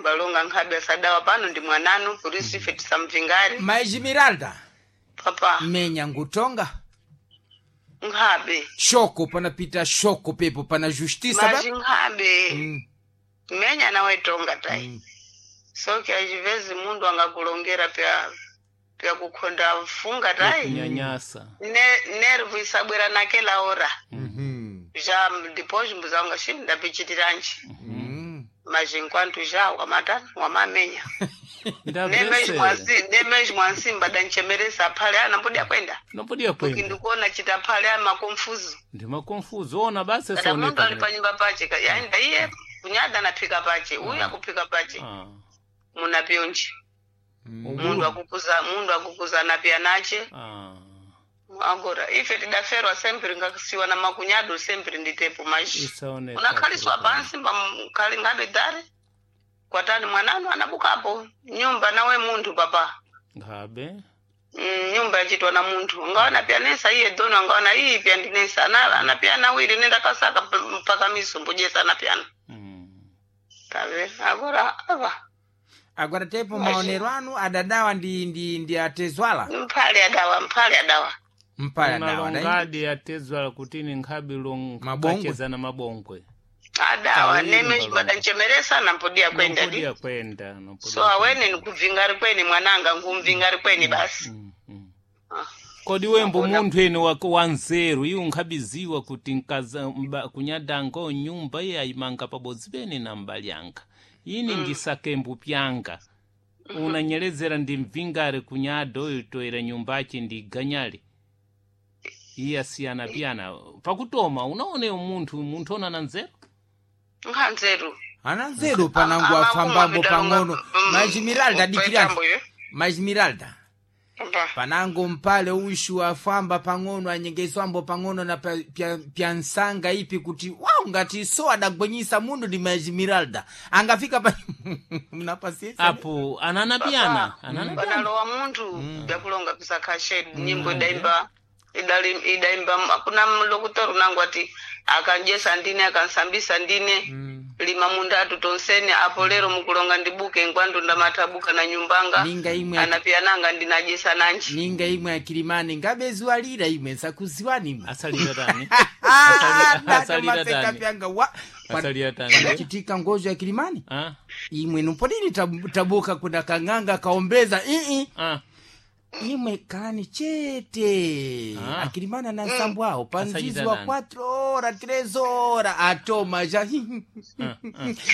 Mbalonga nkhabe asadawa pano ndi mwananu polisi ife tisamvingari. Maijimiralda. Papa. Menya ngutonga. Nkhabe. Shoko panapita shoko pepo pana justiça. Maji nkhabe. Menya nawe tonga tai. Soke achivezi mundu angakulongera pya pya kukhonda funga tai. Kunyanyasa. Ne nervu isabwera nake laora. Já depois mbuzanga shi ndapichitiranji. Mas enquanto já wamatani wamamenya. Ndabvesera. Nemezvo mwansimba danchemeresa phale anambodia kwenda. Nombodia kwenda. Ndikuona chita phale amakonfuzo. Ndimakonfuzo ona basi Kada mundu saoneka. ali panyumba pache yaenda iye kunyada anaphika pache uyu akuphika pache. Ah. Munapyonji. Mundu akukuza mundu akukuza anapya nache. Ah. Agora ife tidaferwa sempre ngakasiwa na makunyado sempre nditepo maji. Isaoneka. Unakhaliswa pansi pamkhali ngabe dare. Kwatani mwananu anabukapo nyumba nawe munthu papa. Ngabe. Nyumba yachitwa na munthu ngaona pyanesa iye dono ngaona iyi pyandinesa anapyana awiri nenda kasaka mpaka misumbu jesa anapyana. Tave agora ava. Agora tepo maonero anu adadawa ndi atezwala. Mphale adawa mphale adawa. Mpale adawa. Unalongadi atezwala kuti ni nkhabe long Mabongwe. kachezana mabongwe. Adawa Awiri neme mbalongo. badanchemeresa nampodia kwenda di. Nompodia kwenda. Nompodia So awene nikubvingari kweni mwananga ngumvingari kweni basi. Ah. Kodi wembo munthu ene wanzeru iwo nkhabiziwa kuti nkaza kunyadango nyumba iye ayimanga pabodzi pene na mbali yanga ini ndisakembu pyanga unanyelezera ndi mvingare kunyada oyo toera nyumbachi ndi ganyale iye asiyana piyana pakutoma unaoneyo munthu munthu onana nzeru Nkhanzeru. Ana nzeru panangu afambambo pang'ono. Maijimiralda dikirani. Maijimiralda. Papa. Panango mpale ushu afamba pang'ono anyengeswambo pang'ono na pya nsanga ipi kuti wau ngati so adagwenyisa mundu ndi Maijimiralda angafika pa mnapasiesa apo anana piyana anana piyana Panalowa munthu byakulonga pisakha nyimbo idaimba idaimba kuna mlokutoru nangu ati akanjesa ndine akansambisa ndine lima munda tonsene apo lero mukulonga ndibuke ngwandu ndamatabuka na nyumbanga Ninga imwe anapiyananga ndinajesa nanji ninga imwe akilimani ngabeziwalira imwe nsakuziwani imwe asalira tani Ah, asalira maseka tani pyanga wa asalira tani panachitika ngozo ya kilimani ah imwe nuponini tabuka kuna kang'anga kaombeza ii ah imwe kalani chete Ah. akilimana na nsambu awo panzizi wa Asachita 4 ora 3 ora atoma ja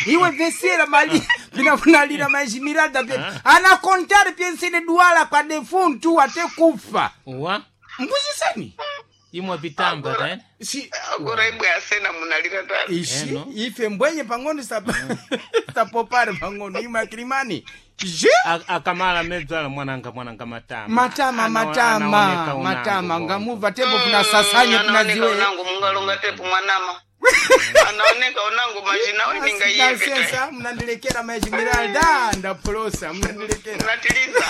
iwe vesera mali vinafunalira majimiralda pe anakontare pyensene duala kwa defuntu ate kufa wa mbuziseni imwe pitamba tani si agora ibwe asena munalira tani ishi Eno. ife mbwenye pang'ono sapopare pang'ono imwe akilimani je akamala medzala mwananga mwananga matama matama Anaoneka matama unangu matama bongo. ngamuva tepo kunasasanye Anaoneka kunaziwe unangu mungalonga tepo mwanama anaoneka unangu majina we ninga iye Sensa, mnandilekera majimiralda ndapolosa mnandilekera munatiliza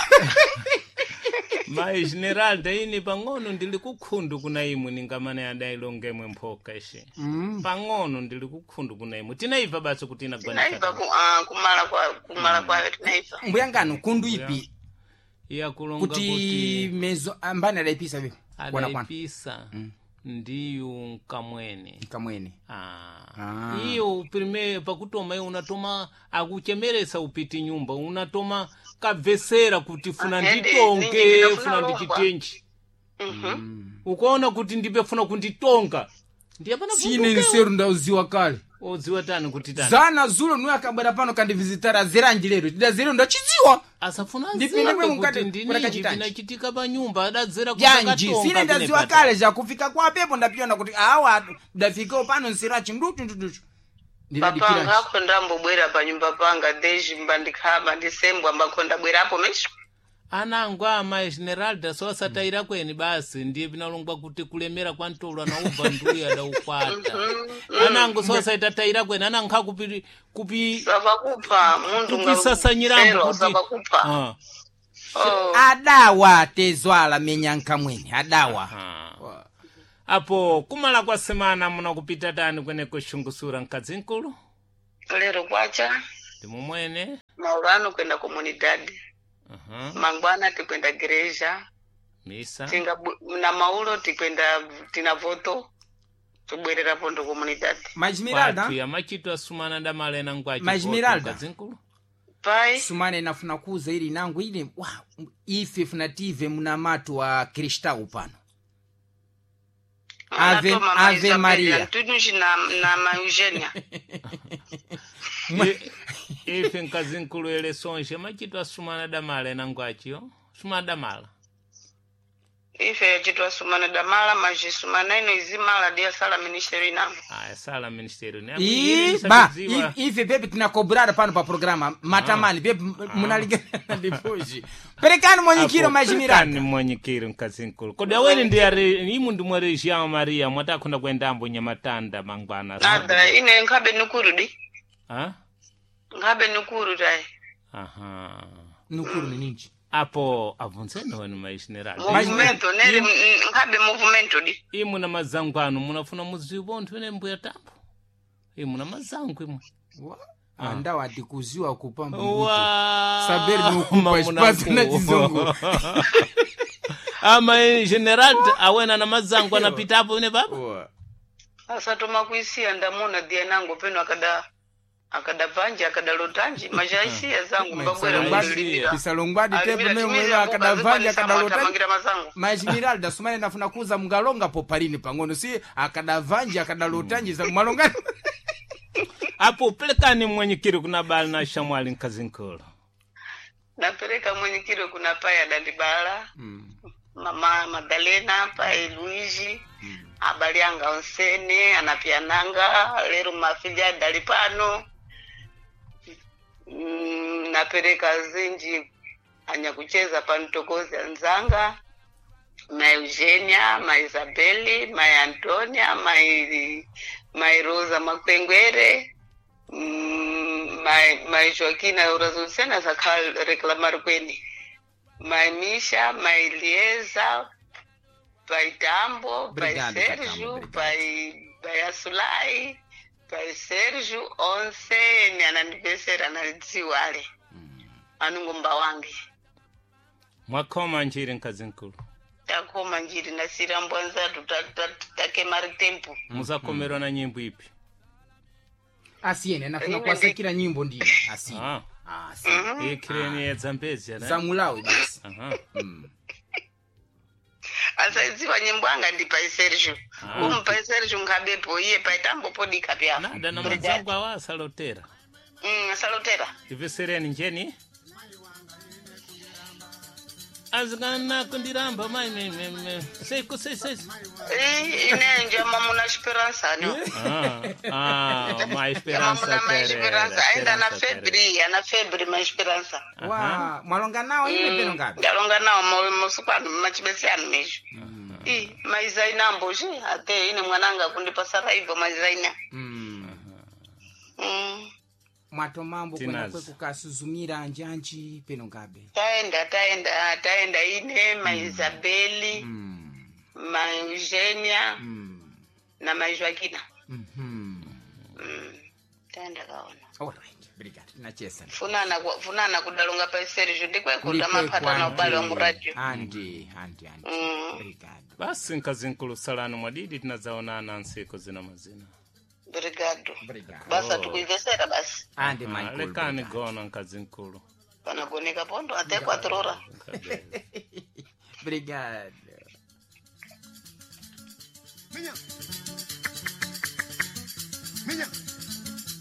Mai Generalda ini pang'ono ndili kukhundu kuna imwe ningamane adailongemwe mphoka ishe pang'ono ndili kukhundu kuna imwe tinaiva basi kuti tinaiva inagwanisa kumala kwa kumala kwayo tinaiva mbuyangano kundu ipi iyakulonga kuti kuti mezo ambani adaipisa vipi kwana kwana adaipisa ndiyu nkamwene kamwene Ah. Ah. iyo prime pakutoma iwe unatoma akuchemeresa upiti nyumba unatoma kabvesera kuti funa Ahende, nditonge ninji ndinofuna funa longwa. ndichitenji ukaona kuti ndipefuna kunditonga ndiye pana sine nseru ndauziwa kale odziwa tani kuti tani zana zulo nuye akabwera pano kandivizitara zeranji lero tidazero ndachidziwa asafuna Ndipinde aziwe mwe kuti mukati- ndininji kunakachitanji. vinachitika pa nyumba adadzera janji sine ndaziwa kale zakufika kwa pepo ndapiona kuti awa ndafikawo pano nserachi nduchu nduchu papa ngakho ndambobwera panyumba panga deji mbandikhaba ndisembwa mbakho ndabwerapo mesho anango ama Esmeralda so asatayira kweni basi ndiye vinalongwa kuti kulemera kwa ntolo anaubva nduya adaukwata anango so asaitatayira kweni anango kupi kupi savakupha munthu kupisasanyirambo kuti savakupha Ah. Oh. adawa tezwala menyanka mwene adawa Ah. Apo kumala kwa semana munakupita tani kweneko xungusura mkadzi nkulu Lero kwacha ndimumwene. Maulano kwenda komunidade. Aha. Mangwana tikwenda gereja. Misa. Tinga na maulo tikwenda tina voto. Tubwerera pondo komunidade. Majimiralda Kwathu yamachitwa sumana damalena ngwachi. Majimiralda. Zinkulu. Pai. Sumana inafuna kuza ili nangu ili wa, ife funative muna matu wa kristau pano. Ave- Anatoma Ave Isabel Maria. Antunushi na ma Eugenia. Ife nkazinkulu ele sonje machitwa sumana damalena ngwachiyo. Sumana damala. Ife yachitwa sumana damala majisumana ino izimala dia sala ministeri inango. Aya sala ministério né? Ii, ba ife pepe tinakobrara pano pa programa matamani pepe munaligana depois perekani mwanyikiro majimiralda mwanyikiro nkazinkulu. Kodi aweni ndi are imu ndi mwa região Maria mwatakhunda kuendambo nyamatanda mangwana. Nada ine nkhabe nukuru di. Ah? Nkhabe nukuru dai. Aha. nukuru ni ninji Apo abvunzeni wenu maishinerali. Movimento neri nkhabe movimento di. Imu na mazangu anu munafuna mudziwo nthu ene mbuya tambo. Imu na mazangu imwe. Andawo atikuziwa kupamba mbuto Wa Saber nukupa mamuna espaço na ku. chizungu. Ama general awena na mazangu anapitapo ine baba. Wa. Asatoma kuisiya ndamuna dia nango peno akada akada panje akada lotanji majaisiya zangu mbabwera kulimira. Pisalongwadi tepe Alimira memwe timiza akadavanja akadalota akamangira mazangu. Majimiralda sumane nafuna kuza mungalonga po palini pang'ono si akadavanja akadalotanji za mwalonga. Apo pelekani mwanyikiro kuna bala na shamwali nkazinkulu. Napereka mwenyekiro kuna pai adandibala. Mama Madalena pai Luigi. Abali anga onsene anapiananga lero mafilya adali pano. Napereka zinji anyakucheza pantokozi anzanga ma Eugenia, ma Isabeli, ma Antonia, ma Rosa Makwengwere, ma Joaquina Eurazonsena zakhala reclamar kweni, ma Misha, ma Elieza, pai Tambo, pai Obrigado, Sérgio, Katambo, obrigado. pai Asulai, pai Sérgio, onsene anandipesera analidziwale anungomba wange. Mwakhoma njiri nkazinkulu. Takoma njiri nasira mbwanzatu takemari tempo. Muzakomerwa na nyimbo ipi? Asiyene nafuna kuwasakira nyimbo ndiyo asiyene. Ah. Asiyene. Ikireni ya Zambezia ne? Zamulawe basi. Aha. Asaidziwa nyimbo anga ndi pai Sergio. Umu pai Sergio nkhabepo iye pai Tambo podika pya. Nada na mazangu awa asalotera. Asalotera. Ivesereni njeni? Azikana kundiramba mai me me me. Sei ko sei sei. Ine njama muna esperança no. Ah, ah, ma Njama esperança muna ma Pereira. esperança ainda na Esperança Pereira. febre, ana febre ma esperança. Wa mwalonga nawo ine peno ngabe. Ndalonga nawo mosukano machibesiyano mesho. I maizaina mboji ate ine mwananga kundipasa raivo maizaina. Mwatomambo kwena Tinazi. kwe kukasuzumira njanji peno ngabe. Taenda taenda taenda ine ma Isabeli, ma Eugenia na ma Joaquina. Taenda kaona. Alright, obrigado. Tinachesa. Funana funana kudalonga pa Sergio ndikwekuta maphata na ubale wa muradio. Andi, andi, andi. Obrigado. Basi nkazinkulu salani mwadidi tinazaonana nsiku zina mazina. Obrigado. Obrigado. Basa tukuivesera basi. Andi Ah, Michael. lekani obrigado. gona nkazinkulu. Panagoneka pondo até 4 horas. Obrigado. Minha.